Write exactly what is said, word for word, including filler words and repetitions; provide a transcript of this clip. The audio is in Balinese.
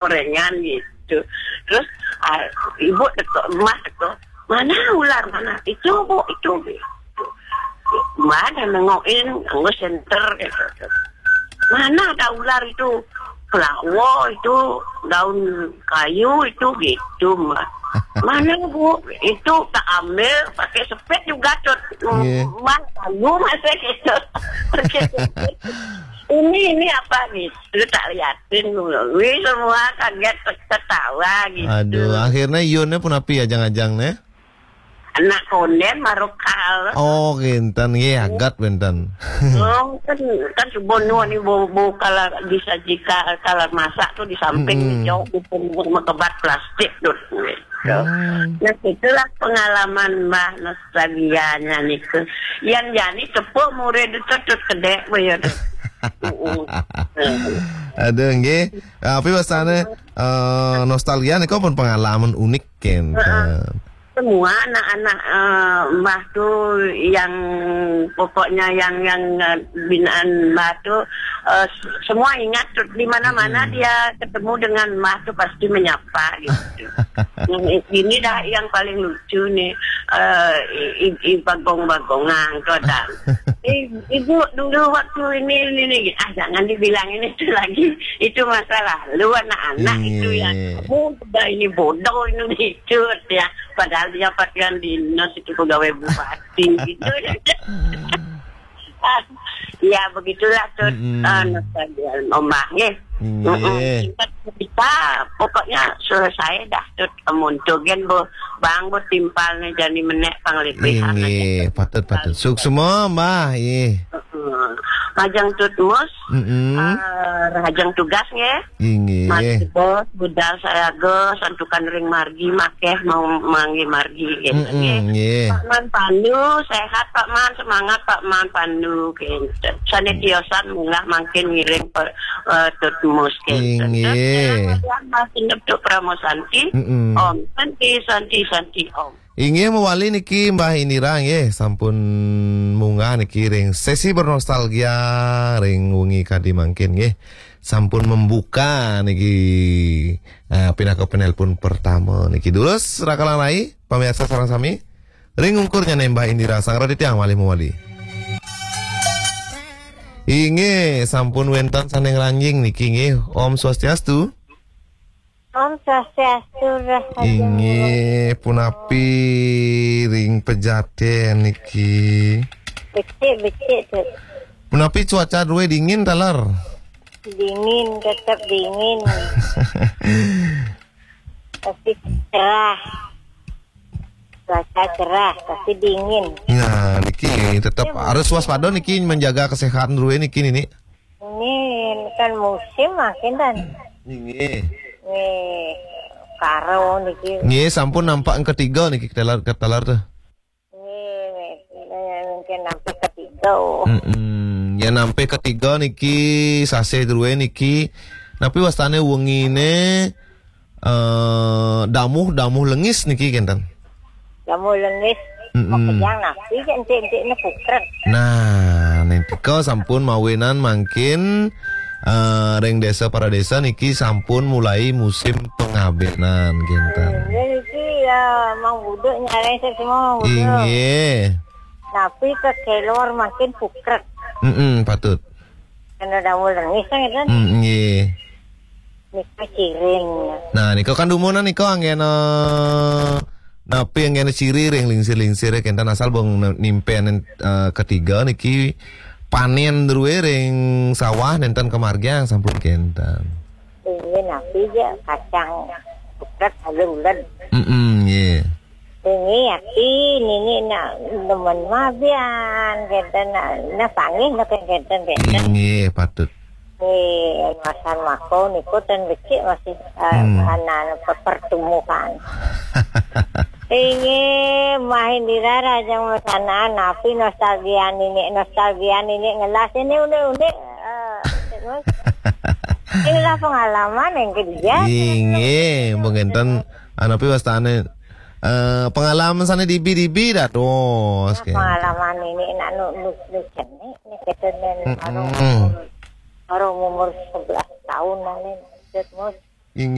gorengan gitu. Terus ah, ibu teko, emak teko, "Mana ular, mana?" "Itu, Bu, itu." Gitu. Emak dah nengokin, nggo senter gitu. "Mana ada ular itu?" "Pelawo itu, daun kayu itu." Gitu, Mak. "Mana, Bu?" "Itu tak ambil pakai sepet juga, Tut." Iya. Mak, kamu masih gitu. Pakai sepet. "Ini, ini apa?" Gitu, tak liatin. Wih, semua kaget, ketawa gitu. Aduh, akhirnya Yunnya pun api ya, jang-jang nih. Anak konden marokal. Oh, kinten, nggih, agat wénten. Oh, kan, kan subuh nuwun ibu, bu, kalau disajikan, kalau masak tuh di samping, mm-mm, jauh, mekebat plastik tuh. Gitu. Hmm. Nah, itulah pengalaman Mbah nostalgianya niku. Yang jani tepuk murid itu tut kedek, Bu, ya, tuh. Mm-mm. Aduh, nggih. Tapi biasanya eh, nostalgia niku pun pengalaman unik, kan. Heeh. Semua anak-anak eh, Mbah tuh yang pokoknya yang yang eh, binaan Mbah tuh eh, s- semua ingat tuh, di mana-mana, mm-mm, dia ketemu dengan Mbah tuh pasti menyapa gitu. Yang ini dah yang paling lucu nih, eh, i- i- i- bagong-bagongan tuh ada. "Eh, Ibu, dulu waktu ini, ini, ini." "Ah, jangan dibilang ini itu lagi. Itu masa lalu anak-anak itu ya. Iya. Kamu udah ini bodoh ini itu," ya. Padahal dia pakaian dinas itu pegawai bupati gitu. Ya, begitulah tuh, mm-mm, eh, nostalgia Mbah, nggih. Nggih. Mm-mm. Singkat cerita, pokoknya selesai dah tuh, amun tuh gen, Bu, bang, Bu, timpal nih jani menek pang lebihan aja. Nggih, patut, patut. Suksma, Mbah, nggih. Heeh. Majeng tut mus, mm-mm, eh, rahajeng tugas nggih. Inggih. Mas Bos, budal sayaga, santukan ring margi, makeh mau manggi margi, gitu, mm-mm, nggih. Nggih. Pak Man Pandu, sehat Pak Man, semangat Pak Man Pandu, gitu. Sane tiosan munggah mangkin ngiring pe, eh, tut mus, gitu. Inggih. Terus, Mas Indep Tuk Pramo Santi, mm-mm, Om Santi, Santi, Santi, Om. Inggih mawali niki Mbah Indira nggih, sampun munggah niki ring sesi bernostalgia ring wengi kadi mangkin nggih. Sampun membuka niki, eh, pinaka penelpon pertama niki. Dulus rakalan rai, pamirsa sareng sami. Ring ungkur nyane Mbah Indira, sang raditya malih mawali. Inggih, sampun wenten sane ngranjing niki nggih. Om Swastiastu. Om Swastiastu, Rahayu. Inggih, punapi ring Pejaten niki? Becik, becik, Tut. Punapi cuaca druwe dingin taler? Dingin, tetap dingin. Tapi cerah. Cuaca cerah, tapi dingin. Nah, niki tetap harus waspada niki, menjaga kesehatan druwe niki, nini. Ini kan musim makin dan. Inggih. Nih, karo niki. Nggih, sampun nampak yang ketiga niki, ketelar, ketelar tuh. Nih, mungkin nampak ketiga. Mm-mm. Ya, nampak ketiga niki, sasih druwe niki. Tapi wastane wengine eh damuh, damuh lengis niki kenten. Damuh lengis. Mm-mm. Makejang napi je entik-entik ne pukrek. Nah, nentika sampun mawinan mangkin eh ring desa para desa niki sampun mulai musim pengabenan kenten. Ini niki ya mang buduk nyareng semua buduk. Inggih. Napi ke kelor makin pukrek. Mm-mm, patut. Kena damuh lengis kan, kan? Mm, nggih. Nika ciring. Nah, nika kan dumunan nika anggena napi anggena ciri ring lingsir-lingsir kenten asal bong nimpen eh, ketiga niki panen druwe ring sawah nenten kemargiang sampun kenten. Inggih napi je kacang pukrek aja uled. Mm-mm, nggih. Ini yakin ini nak demen mabian kenten nak nak panggih nak kenten kenten. Inggih, patut. Nih, masan mako niku ten becik masih eh, hmm. Anak pertumbuhan. Inggih, Mbah Indira rajang masanaan napi nostalgia nini, nostalgia nini ngelas ini unik-unik. Eh, terus. Inilah pengalaman yang kerja. Inggih, mungkin ten anapi wastane eh pengalaman sane dibi-dibi dados. Nah, pengalaman ini nak nu nu nu cenik ni kita nen baru umur sebelas tahun nih. Terus